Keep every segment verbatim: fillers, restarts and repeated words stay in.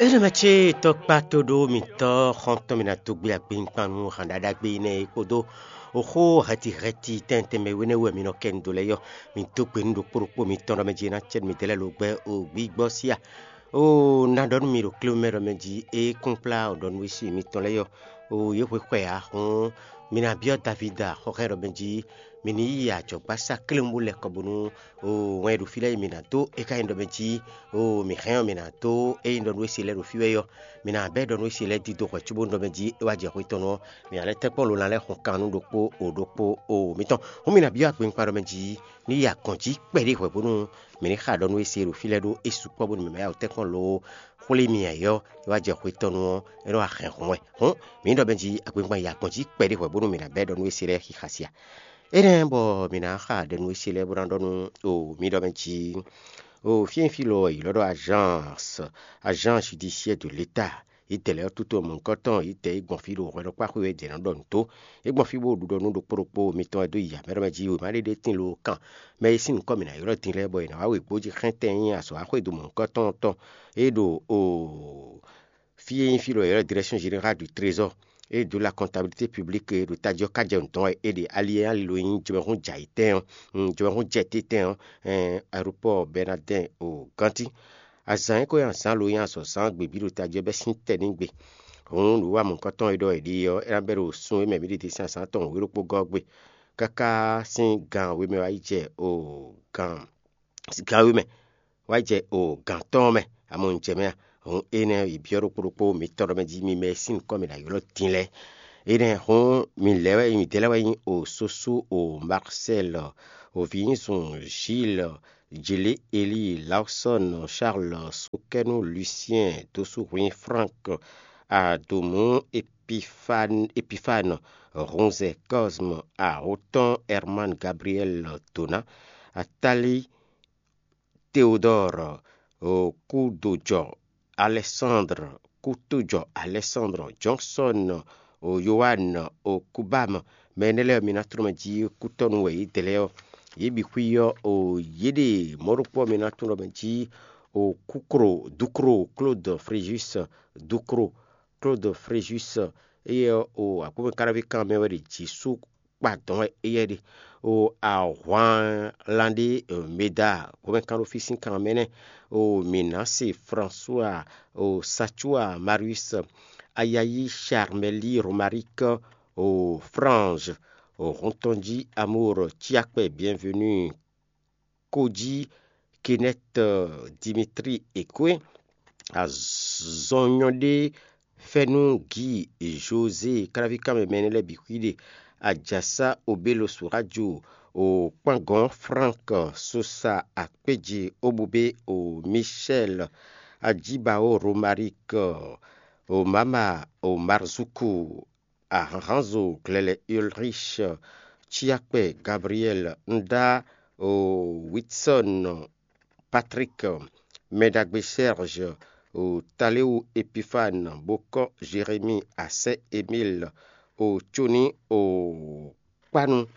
Énɛ́ mɛ ce tɔkpá tóɖó mitɔ́ xɔ́ntɔn mi ná dó gbé agbínkpan nú han ɖaɖagbe énɛ́ e kpódó oxó hɛtihɛti tɛntɛn mɛ wénɛ́ wɛ mi nɔ kɛ nu dó lɛ́ɛ yɔ, mi dó gbe nú ɖokpó ɖokpó mitɔn ɖɔ mɛ jí é ná cɛ nú midɛɛ lɛ́ɛ logbɛ o gbígbɔ síá. O ná ɖɔ nú mi ɖo klé mɛ ɖɔ mɛ jí é kún kplá o ɖɔ nú wísi mitɔn lɛ́ɛ yɔ. O yě hwe xwɛ ǎ hɔn mi ná byɔ́ Davída xɔxɛ́ ɖɔ mɛ jí mi ní yi ajɔ̌gbásá kléwún bó lɛ́ kɔ bónú o wɛn e ɖo fí lɛ́ɛ yi mi ná dó é ka nyí ɖɔ mɛ jí o mǐ hɛn ɔ́ mi ná dó é nyí ɖɔ nú é se lɛ́ɛ ɖo fí wɛ yɔ. Mi ná bɛ́ ɖɔ nú é se lɛ́ɛ dídó hwɛ cóbónú ɖɔ mɛ jí é wá jɛ xwé tɔn nú ɔ́, mi ná lɛ́ tɛ́nkpɔ́n lo ná lɛ́ xɔn kan nú ɖokpó o ɖokpó o mǐtɔn. Hǔn mi ná byɔ́ akpinkpan ɖɔ mɛ jí ní yi agɔn jí kpɛɖé hwɛ bónú mǐ ní xa ɖɔ nú é se ɖo fí lɛ́ɛ ɖó é sukpɔ́ bónú mǐ ma yá wǔ tɛ́nkpɔ́n lo xwlé mi ǎ é ɔ́, é wá jɛ xwé tɔn nú ɔ́, é nɔ wá hɛn hǔn wɛ. Hǔn mǐ ní ɖɔ mɛ jí akpinkpan yi agɔn jí kpɛɖé hwɛ bónú mǐ ná bɛ́ ɖɔ nú é se lɛ́ɛ xixa sia. Énɛ́ bɔ mǐ ná xa ɖɛ nú é se lɛ́ɛ bó ná ɖɔ nú o mǐ ɖɔ mɛ jí o fí e fí lɔ è ylɔ́ ɖɔ agence, agence judiciaire de l'État, yě dɛ lɛ́ɛ ɔ́ tútú mɔ̌hunkɔtɔn yě dɛ yě gbɔn fí ɖo hwɛɖɔkpáxwé wɛ jɛ nǎ ɖɔ nǔ tó. Yě gbɔn fí bó ɖu ɖɔ nú ɖokpó ɖokpó mitɔn wɛ dó yi amɛ ɖɔ mɛ jí wěma ɖé ɖé tín lo kan mɛ e sín nǔkɔ mǐ ná ylɔ́ din lɛ́ɛ bɔ è nǎ wá wěgbó jí xɛ́ntɛn nyí azɔ̌ axwédo mɔ̌hunkɔtɔn tɔn e ɖo o fí e nyí fí ɖɔ è ylɔ́ direction générale du trésor, e dó la comptabilité publique e ɖo tají ɔ́ ká jɛ nǔ dɔn wɛ é ɖe ali e ali lo nyí jɔmɛhún jɛ ayǐtɛn ɔ́, jɔmɛhún jɛ tétɛn ɔ́, aéroport Bernardin o Ganti. Azǎn e ko nyí azǎn lo nyí azɔ̌zán gbe bǐ ɖo tají ɔ́ bɛ́ sín tɛ́ n'i gbe. Hǔn nǔwiwa mɔ̌hunkɔtɔn e ɖɔ è ɖe ɔ́, é ná bɛ́ ɖo sun e mɛ mǐ ɖe dín sín azǎn tɔn wěɖokpó gɔ́ ɔ́ gbe, káká sín gan we mɛ wá yi jɛ o gan gan we mɛ wá jɛ o gǎn tɔn mɛ, amɔ un jɛ mɛ a? Hǔn énɛ́ yi byɔ́ ɖokpó ɖokpó mitɔn ɖɔ mɛ jí mi mɛ e sín nǔkɔn mǐ ná ylɔ́ din lɛ́ɛ. Énɛ́ hǔn mi lɛ́ wɛ midɛɛ lɛ́ɛ wɛ nyí o Sosú, o Marcel, o Vǐnzun, Gilles, Jilí, Eli, Lawsɔ́n, Charles, Sokɛ́nú, Lucien, Dosúhwin, Frank, Adomú, Epifane, Epifane, Hunzɛ, Cosme, Ahotan, Herman, Gabriel, Dona, Atali, Théodore, Kudojɔ, Alexandre, Kutujɔ, Alexandre, Johnson, Yohan, Kubam, mɛ énɛ́ lɛ́ɛ mi ná tlɔ́n mɛ jí kútɔ́ nú wɛ yě dɛ lɛ́ɛ ɔ́. Yě bǐ xwí ɔ́, yě ɖe mɔ̌ ɖokpó ɔ́ mi ná tlɔ́n mɛ jí Kukro, Dukro, Claude Fréjus, Dukro, Claude Fréjus, éyɛ́ ɔ́, agbómɛ káɖáví kan mɛ wɛ ɖe Jǐsú kpa dɔ̌n wɛ éyɛ́ ɖe. O ahwanlan ɖé Meda, gbɔmɛkanɖófí sín kan mɛ nɛ́. O Minase, François, o Satua, Marius, Ayayi, Charmeli, Romaric, o Frange, o Huntɔnji, Amour, Ciakpɛ, Bienvenu, Koji, Kenneth, Dimitri, Ekwe, azɔnyɔ́ɖé, Fɛ́nú, Gíi, Jozée, káláví kanmɛ mɛ énɛ́ lɛ́ɛ bǐ xwíɖe, Ajasá, Obélo, Surájo, Kpángɔn, Frank, Sosa, Akpéje, Obubé, Michel, Ajíbaó, Romarik, Mama, Marzuku, Ahanhanzo, Glɛlɛ, Ulrich, Ciakpɛ, Gabriel, Nda, Witsɔn, Patrick, Mɛɖagbe Serge, Taléwu Epifane, Bokɔ Jérémie, Asɛ Emile, Coni, Kpanu.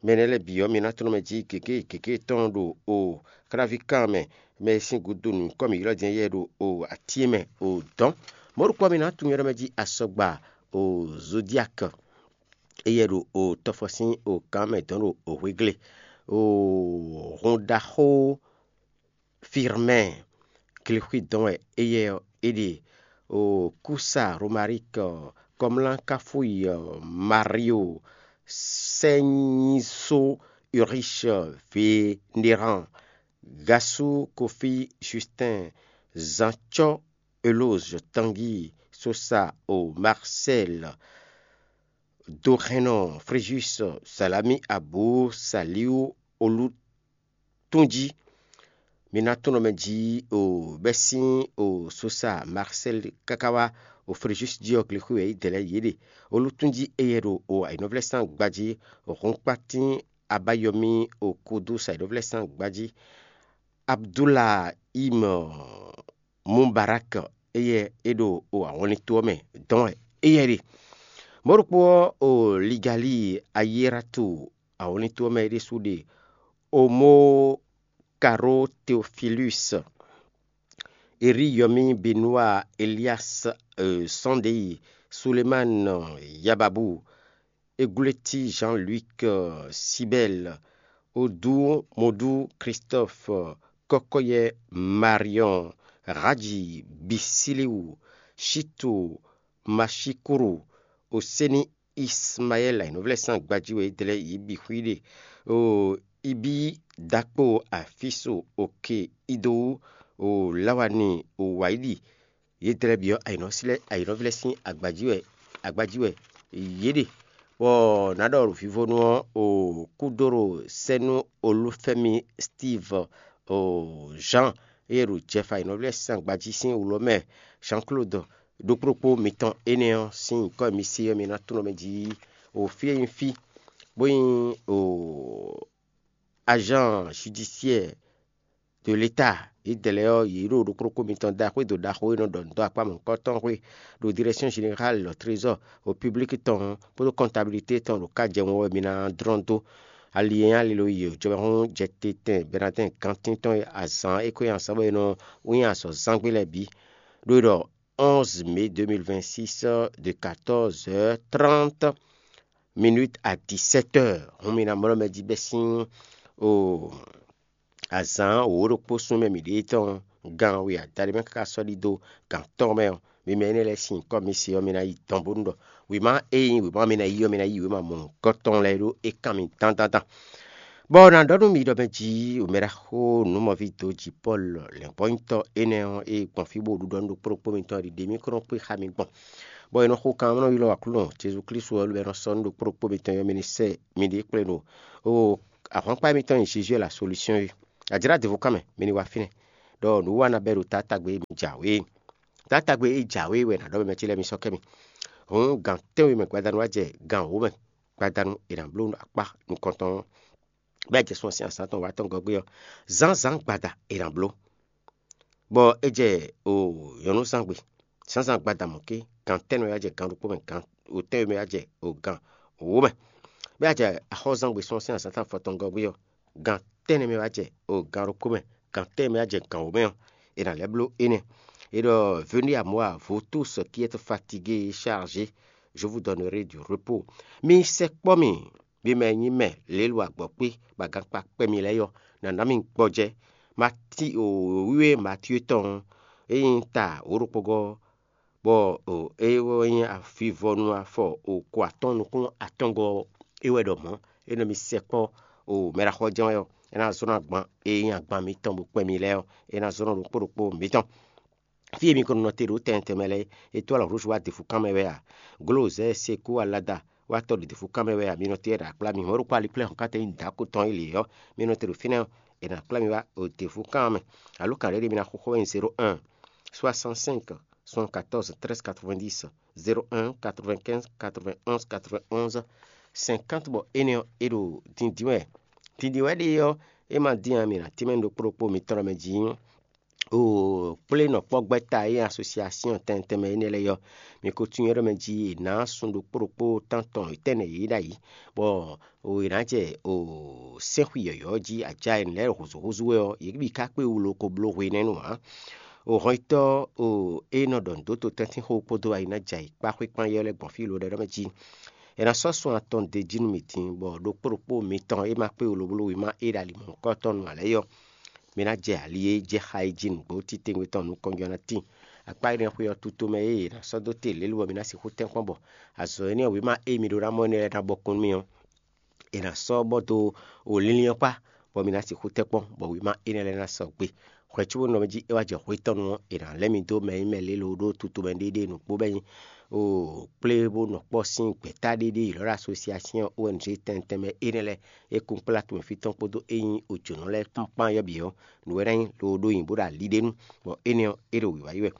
Mɛ énɛ́ lɛ́ɛ bǐ ɔ́, mi ná tlɔ́n mɛ jí gěgé gěgé tɔn ɖo o kláví kan mɛ, mɛ e sín gúdo nǔkɔ́ mǐ ylɔ́ din éyɛ́ ɖo o atín e mɛ o dɔ̌n. Mɔ̌ ɖokpó ɔ́, mi ná tunwun ylɔ́ mɛ jí asɔgba o Zodiak, éyɛ́ ɖo o tɔfɔ sín o gǎn mɛ dɔ̌n ɖo o hwegle. O hun ɖaxó Firmɛ́ɛ, glexwé dɔn wɛ éyɛ́ ɔ́ é ɖe. O Kúsa, Romarik, Kɔmlán, Káfúyi, Mario, Sɛnyísó, Urich, Vénéran, Gasú, Kofí, Justin, Zancɔ́, Eloz, Tangi, Sosa, o Marcel, Doxɛnɔ, Fréjus, Salami, Abú, Saliu, Olú, tún jí. Mi ná tún nɔ mɛ jí o bɛ́ sín o Sosa, Marcel káká wá o Fréjus jí ɔ́, glexwé wɛ yě dɛ lɛ́ɛ yě ɖe. Olú tún jí éyɛ́ ɖo o ayǐnɔvlɛ́sán gbají, o hɔnkpátín abayɔmí o kodo sa ayǐnɔvlɛ́sán gbají. Abdulahim Mubarak, éyɛ́ é ɖo o ahɔnlin to ɔ́ mɛ dɔn wɛ éyɛ́ ɖe. Mɔ̌ ɖokpó ɔ́, o Ligali Ayérato, ahɔnlin to ɔ́ mɛ é ɖésú ɖe. Omo Karo Teofilus, Eri Yɔmi Benua, Elias Sunday, Suleman Yababu, Eguleti Jean-Luc Sibel, Odu Modu Christophe, Kɔkɔyɛ Marion, Raji Bisiliwu, Shitu Mashikuru, Oseni Ismaɛl, ayǐnɔvlɛ́ sín agbají wɛ é dlɛ́ yě bǐ xwíɖe, o Ibí Dakpo Afiso Oke Idowu, o Lawani o Wǎyiɖi, yě dlɛ́ bǐ ɔ́, ayǐnɔvlɛ́ sín agbají wɛ agbají wɛ yě ɖe. Bɔ nǎ ɖɔ vivonu ɔ́, o Kúdoro sɛ́ nú Olúfɛ́mi Steve, o Jean, ée ɖo Jɛfa ayǐnɔvlɛ́ sín agbají sín wlǒ mɛ, Jean Claude, ɖokpó ɖokpó mitɔn énɛ́ ɔ́ sín nyǐkɔ e mi se ɔ́, mi ná tunwun mɛ jí o fí e nyí fí, bó nyí o agent judiciaire de l'État, yědɛɛ lɛ́ɛ ɔ́, yě ɖo ɖokpó ɖokpó mitɔn da xwédo ɖaxó e nɔ ɖɔ nǔ dó akpá mɔ̌hunkɔtɔn xwé ɖo Direction Générale au Trésor au Public tɔn ɔ́ kpódó Comptabilité tɔn ɖo ká jɛ wɔn wɛ mi ná dlɔ́n dó. Ali e nyí ali lo yi jɔbɛ́hún jɛ te tɛn Bɛnadɛ́n gantín tɔn e azǎn e ko nyi azǎn bɔ è nɔ wín azɔ̌ zán gbé lɛ́ɛ bǐ, ɖó è ɖɔ onze mai deux mille vingt-six de quatorze heures trente minutes à dix-sept heures. Hun mi ná mlɔ́ mɛ jí bɛ́ sín o azǎn wǒ ɖokpó sún mɛ mǐ ɖe tɔn gan we adaɖé mɛ káká sɔ́ ɖidó gan tɔn mɛ ɔ́, mi mɛ énɛ́ lɛ́ɛ sín nyǐkɔ mi se ɔ́, mi ná yi dɔn bónú ɖɔ wěma e nyí wěma mi ná yi ɔ́, mi ná yi wěma mɔ̌hunkɔtɔn lɛ́ɛ ɖó é kan mi dandandan. Bɔ ná ɖɔ nú mi ɖɔ mɛ jí wěmɛɖaxó nǔmɔví dǒ jǐ Pɔ́lu lɛ̌ngbɔ́nyitɔ́ énɛ́ ɔ́, e gbɔn fí bó ɖuɖɔ nú ɖokpó ɖokpó mitɔn ɖiɖe mì kó nɔ kpé xá mi gbɔn, bɔ è nɔ xo kan ɔ́ nɔ ylɔ́ Aklúnɔ Jezu Klísu ɔ́, lobɔ è nɔ sɔ́ nú ɖokpó ɖokpó mitɔn ɔ́, mi ní sɛ miɖée kplé ɖo o ahwankpá mitɔn e nyí Jezu wɛ la solúsyɔn é. A jlá devo kán mɛ, mi ní wá fínɛ́, ɖɔ nǔwiwa ná bɛ́ ɖo taátagbe e mi jǎwe é. Taátagbe e jǎwe é wɛ è nǎ ɖɔ mɛ mɛ ce lɛ́ɛ mi sɔ́ kɛ mi. Hǔn gan tɛ́nwe mɛ gbadanu wá jɛ gan wǒ mɛ gbadanu è nǎ bló akpá nukɔntɔn ɔ́, bɔ é jɛ sun ɔ́ sín azǎn tɔn wǎ tɔn gɔ́ gbé ɔ́, zǎnzǎn gbada è nǎ bló, bɔ é jɛ o nyɔ̌nuzángbe. Zǎnzǎn gbada mɔ̌ ké, gan tɛ́nwe wá jɛ gan ɖokpó mɛ, gan wǒtɛ́nwe mɛ wá jɛ o gan wǒ mɛ, bɔ é jɛ axɔ́zángbe sun ɔ́ sín azǎn tɔn afɔtɔn gɔ́ gbé ɔ́, gan tɛ́nnɛ mɛ wá jɛ o gan ɖokpó mɛ, gan tɛ́nnɛ mɛ wá jɛ gan wǒ mɛ ɔ́, è nǎ lɛ́ bló énɛ́. È ɖɔ: Venez à moi, vous tous qui êtes fatigués et chargés, je vous donnerai du repos. Mi sɛkpɔ́ mì, mi mɛ e nyí mɛ lě e lo agbɔ̌kpé bɔ agankpa kpɛ́ mi lɛ́ɛ ɔ́, nǎ ná mi gbɔjɛ́. Mati o wíwé Matíwe tɔn ɔ́, é nyí ta wǒ ɖokpógɔ́, bɔ o é wɛ nyí avivɔnu afɔ o ko atɔ́ɔ́n nukún atɔ́ngɔ́ ɔ́, é wɛ ɖɔ mɔ̌. É nɔ mi sɛkpɔ́ o mɛɖaxɔjɛ́n wɛ ɔ́, é ná zɔ́n agban e nyí agban mitɔn bó kpɛn mi lɛ́ɛ ɔ́, é ná zɔ́n ɖokpó ɖokpó mitɔn. Fí e mi ko nɔ te ɖo tɛntɛn mɛ lɛ́ɛ é tó alɔ hlúzu wá defukan mɛ wɛ a? Glozɛ seku alada wá tɔ ɖo defukan mɛ wɛ a? Mi nɔ te ɖo akplá mi hɔn ɖokpó aliplɛ́ hɔn káta nyí dǎko tɔn e lě ɔ́, mi nɔ te ɖo fínɛ́ ɔ́, è nǎ kplá mi wá o defukan mɛ. Alo kan ɖé ɖé mi ná xóxó wɛ nyí zéro un soixante-cinq soixante-quatorze treize quatre-vingt-dix, zéro un quatre-vingt-quinze quatre-vingt-onze quatre-vingt-onze cinquante, bɔ énɛ́ ɔ́, é ɖo dindin wɛ. Dindin wɛ ɖe ɔ́, é ma dín ǎ, mi nǎ tínmɛ ɖokpó ɖokpó mitɔn mɛ jí. O kplé nɔkpɔ́gbɛ́ta e nyí asosiasyɔn tɛntɛnmɛ énɛ́ lɛ́ɛ ɔ́, mi ko tunwun ɖɔ mɛ jí è nǎ sun ɖokpó ɖokpó tántɔn tɛ́nnɛ yě ɖ'ayǐ, bɔ o è nǎ jɛ o sɛ́nxwi yɔ̌yɔ́ jí ajá e nǔ lɛ́ɛ húzúhúzú wɛ ɔ́, yě bǐ ka kpé wú lo ko bló hwenɛ́nu ǎ. O hɔnyitɔ́ o e nɔ ɖɔ nǔ dó totɛ́ntinxó kpódó ayi ná jɛ ayǐ kpá xwé kpán yɔ́ lɛ́ɛ gbɔn fí lo ɖɛ ɖɔ mɛ jí. È nǎ sɔ́ sun atɔn d'é jí nú mì din, bɔ ɖokpó ɖokpó mitɔn e ma kpé wú lo bló wěma e ɖo ali mɔ̌hunkɔtɔn nu ǎ lɛ́ɛ ɔ́, mi ná jɛ ali e jɛ xa e jí nǔgbó titewungbe tɔn nukɔn jɔ ná tíin. Akpá énɛ́ xwé ɔ́ tutomɛ e è nǎ sɔ́ dó te lě lobɔ mi ná sixú tɛ́nkpɔ́n bɔ azɔ̌ énɛ́ ɔ́ wěma e mi ɖó ná mɔ énɛ́ lɛ́ɛ ná bɔkun nú mi ɔ́, è nǎ sɔ́ bɔ dó o linlin ɔ́ kpá, bɔ mi ná sixú tɛ́nkpɔ́n, bɔ wěma énɛ́ lɛ́ɛ ná sɔgbe. Hwɛ̌ cóbónɔ mɛ jí é wá jɛ hwetɔ́nu ɔ́, è nǎ lɛ́ mi dó mɛ e nyí mɛ lě lo ɖó tutomɛ ɖéɖé nǔgbó bɔ é nyí o kplé bó nɔ kpɔ́ sín gbɛ̌ta ɖéɖé e è nɔ ɖɔ asosiasyɔn O N G tɛntɛnmɛ énɛ́ lɛ́ɛ e kún kplá tomɛ fí tɔn kpódó e nyí ojǒnɔ lɛ́ɛ kpán kpán yɔ́ bǐ ɔ́, nǔ wɛ ná nyí loɖó nyi bó ɖo ali ɖé nu, bɔ énɛ́ ɔ́, é ɖo wǐwá yi wɛ.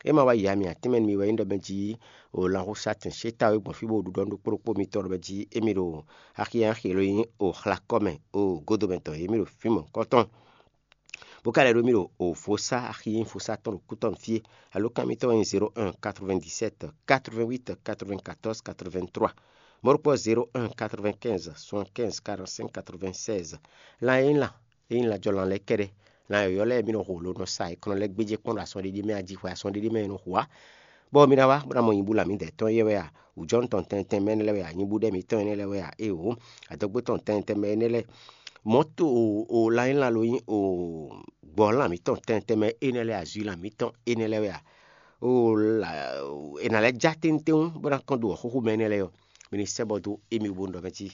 É ma wá yi ami atínmɛ nú mi wɛ nyí ɖɔ mɛ jí o lanxusatɛn xétáwé gbɔn fí bó ɖuɖɔ nú ɖokpó ɖokpó mitɔn ɖɔ mɛ jí émí ɖo axi e nyí axi e nyí o xlakɔ́ mɛ o godomɛ tɔn émí ɖo fí mɔ̌hunkɔtɔn. Bó ka lɛ́ ɖó mì ɖo o vodúnsi axi e nyí vodúnsi tɔn ɖo kútɔ́ fí é. Alǒkan mitɔn wɛ nyí zéro un quatre-vingt-dix-sept quatre-vingt-huit quatre-vingt-quatorze quatre-vingt-trois. Mɔ̌ ɖokpó zéro un quatre-vingt-quinze soixante-quinze quarante-cinq quatre-vingt-seize. Lan e nyí lan e nyí lanjɔlan lɛ́ɛ kɛ́ɖɛ́, lan yɔ̌yɔ́ lɛ́ɛ mì nɔ xo lo nɔ sa è kɔn nɔ lɛ́ gbéjé kpɔ́n ɖo asɔ́ ɖé ɖé mɛ a jí hwɛ asɔ́ ɖé ɖé mɛ è nɔ xo ǎ. Bɔ mi ná wá bó ná mɔ nyibú lǎmídɛ̌tɔ́ éyɛ́ wɛ a? Wǔjɔ́nú tɔn tɛntɛn mɛ énɛ́ lɛ́ɛ wɛ a? Nyibú ɖɛ́ mǐtɔn énɛ́ lɛ́ɛ wɛ a? Éeǒ, adɔgbé tɔn tɛntɛn mɛ énɛ́ lɛ́ɛ, mɔ̌to o lanyílan lo nyí o gbɔ̌ lan mǐtɔn tɛntɛn mɛ énɛ́ lɛ́ɛ, azwi lan mǐtɔn énɛ́ lɛ́ɛ wɛ a? O è nǎ lɛ́ já téŋtéŋ bó ná kɔn dó wɔ̌xúxú mɛ énɛ́ lɛ́ɛ ɔ́, mi ní sɛ́ bɔ dó émí bó ɖɔ mɛ jí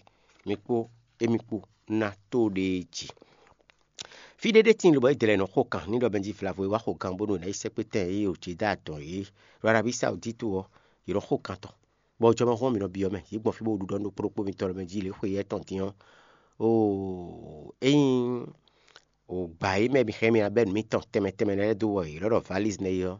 mi kpó émí kpó ná tó ɖe jí. Fí ɖé ɖé tíin lobɔ é dlɛ́ nɔ xo kan ní ɖɔ mɛ jí vlavo e wá xo gan bónú è nǎ yi sɛ́kpé tɛn e yě ɖo Judá tɔn yě ɖo Arábíi Sawudítu ɔ́, yě nɔ xo kan tɔn. Bɔ jɔmɔhún ɔ́ mi nɔ byɔ́ mɛ, yě gbɔn fí bó ɖu ɖɔ nú ɖokpó ɖokpó mitɔn lɔ mɛ jí lě xwe yɛ tɔn din ɔ́, oo ényí o gbǎ é mɛ mi xɛ mi ná bɛ́ nǔ mitɔn tɛnmɛ tɛnmɛ lɛ́ɛ dó wɔ yě lɔ́ ɖɔ valízi nɛ́ é ɔ́,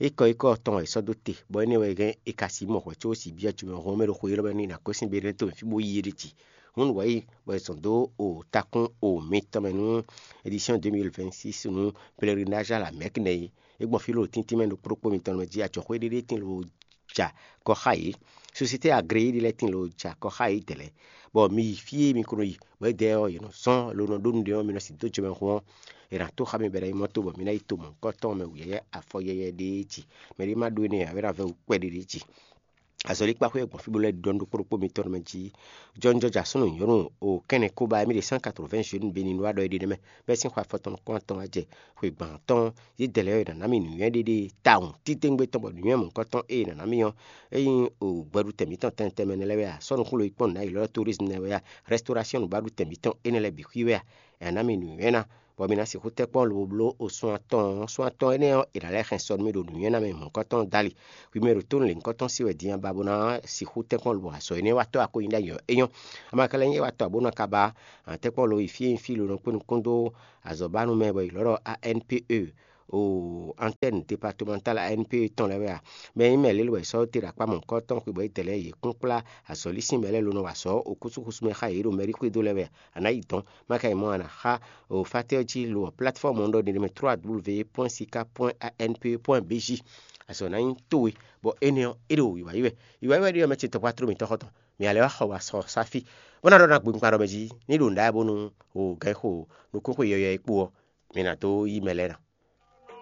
ékɔ ékɔ tɔn wɛ è sɔ́ dó te, bɔ énɛ́ wɛ hɛn è ka sixú mɔ hwɛ̌ có sixú byɔ́ jɔmɛhún mɛ ɖo xwe élɔ́ mɛ nú è nǎ gosín Benɛ́to mɛ fí bó yí é ɖ'é jí. Hǔn nǔ wɛ nyí bɔ è zɔn dó o takún o mitɔn mɛ nú édisyɔ́n deux mille vingt-six nú Pèlerináj a la Mɛ̌k nɛ́ é. É gbɔn fí lóɖo tíntín mɛ ɖokpó ɖokpó mitɔn mɛ jí ajɔxwé ɖé ɖé tíin lóbo ja kɔ xá yě. Sosiyete agréé ɖé lɛ́ɛ tíin lóbo ja kɔ xá yě dɛ̌lɛ́, bɔ mi yi fí e mi ko nɔ yi, bɔ édɛɛ ɔ́, yě nɔ zɔ́n lo nɔ ɖó nǔɖé ɔ́, mi nɔ sin dó jɔmɛhún ɔ́, è nǎ tó xá mi bɔ è nǎ yi mɔ́ tó bɔ mi ná yi to mɔ̌hunkɔtɔn mɛ wǔyɛ́yɛ́ afɔ yɛ́yɛ́ ɖéé jí. Mɛ ɖé ma ɖó énɛ́ ǎ, é ná vɛ́ wǔ kpɛɖé ɖé jí. Azɔ̌likpáxwé e gbɔn fí bó lɛ́ ɖɔ nú ɖokpó ɖokpó mitɔn mɛ jí. Jɔnjɔja súnnu nyɔ̌nu o kɛ́nnɛ kóbá émí ɖe cent quatre-vingts jeunes béni wá ɖɔ é ɖe nɛ́ mɛ, bɛ́ sín xwe afɔtɔn nukún atɔn wá jɛ xwe gban atɔ́ɔ́n. Yědɛɛ lɛ́ɛ ɔ́, è nǎ ná mì nǔnywɛ́ ɖé ɖé tawun títewungbe tɔn, bɔ nǔnywɛ́ mɔ̌hunkɔtɔn e è nǎ ná mì ɔ́, é nyí o gbɛɖutɛn mǐtɔn tɛnmɛ tɛnmɛ nɛ́ lɛ́ɛ wɛ a? Sɔ́ nukún lo yi kpɔ́n nǔ ná yi lɔ́ tourisme nɛ́ wɛ a? Rɛstauration nǔbáɖutɛn mǐtɔn énɛ́ lɛ́ɛ bǐ xwí wɛ a? È nǎ ná mì nǔnywɛ́ ná, bɔ mi ná sixú tɛ́ kpɔ́n lobo bló o sun atɔn ɔ́. Sun atɔn énɛ́ ɔ́, è nǎ lɛ́ hɛn sɔ nú mì ɖo nǔnywɛ́ ná mɛ mɔ̌hunkɔtɔn dali. Hwi mɛ ɖo tónú lěhunkɔtɔn sí wɛ din a ba bó ná sixú tɛ́ kpɔ́n lobo azɔ̌ énɛ́ wá tɔ́ a ko nyi ɖ'ayǐ ɔ́? É nyɔ́. A ma ka lɛ́ nyí é wá tɔ́ ǎ bónú a ka ba tɛ́ kpɔ́n lo yi fí e nyí fí lo nɔ kpé nukún dó azɔ̌banú mɛ bɔ è lɔ̌ ɖɔ A N P E, o antɛ́ni departementale A N P E tɔn lɛ́ɛ wɛ a? Mɛ e nyí mɛ lě lɔ wɛ è sɔ́ te ɖo akpá mɔ̌hunkɔtɔn xwebɔ é dɛ lɛ́ɛ yě kún kplá azɔ̌lísín mɛ lɛ́ɛ lo nɔ wa azɔ̌ o kúsúkúsú mɛ xá yě ɖo mɛɖíxwedó lɛ́ɛ wɛ a? A nǎ yi dɔ̌n, má ka yi mɔ̌ a nǎ xá o fátɛ́ ɔ́ jí lo ɔ́, plateforme ɔ́ ɖɔ ɖiɖe mɛ trois W point sika point A N P E point B J. Azɔ̌ ná nyí towe, bɔ énɛ́ ɔ́, é ɖo wǐwá yi wɛ. Wǐwá yi wɛ ɖé ɔ́ mɛ ce tɔkpá tló mǐtɔn xɔtɔn. Mǐ a lɛ́ wá xɔ wá sɔ sáfí, bó ná ɖɔ ná gbe kpa ɖɔ mɛ jí ní ɖo nǔɖá bónú o gǎn xo nukúnxwe yɔyɔ e kpo ɔ́, mi ná dó yí mɛ lɛ́ɛ ná.